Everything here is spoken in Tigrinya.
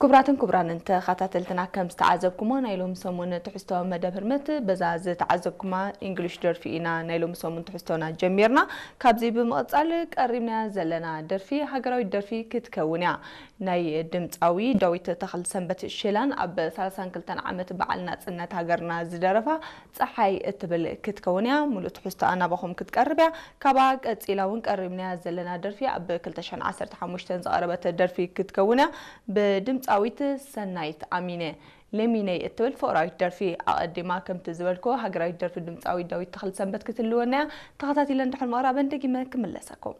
ክቡራትን ክቡራንን ተኸታተልትና፣ ከም ዝተዓዘብኩሞ ናይ ሎሚ ሰሙን ትሕዝቶ መደብ ህርመት በዛ ዝተዓዘብኩማ እንግሊሽ ደርፊ ኢና ናይ ሎሚ ሰሙን ትሕዝቶና ጀሚርና። ካብዚ ብምቕጻል ቀሪብናያ ዘለና ደርፊ ሃገራዊት ደርፊ ክትከውን እያ። ናይ ድምጻዊ ዳዊት ተኽለሰንበት ሸላን ኣብ ሰላሳን ክልተን ዓመት በዓል ናጽነት ሃገርና ዝደረፋ ጸሓይ እትብል ክትከውን እያ። ሙሉእ ትሕዝቶኣ ናባኹም ክትቀርብ እያ። ካብኣ ቀጺላ እውን ቀሪብናያ ዘለና ደርፊ ኣብ ክልተ ሽሕን ዓሰርተ ሓሙሽተን ዝቐረበት ደርፊ ክትከውን እያ። ብድምጻዊት ሰናይት ኣሚነ ለሚነይ እትብል ፍቕራዊት ደርፊ ኣቐዲማ ከምቲ ዝበልኩ ሃገራዊት ደርፊ ድምጻዊ ዳዊት ተኽለሰንበት ክትልወና እያ። ተኸታቲለን ድሕሪ ምቕራበን ደጊመ ክምለሰኩም።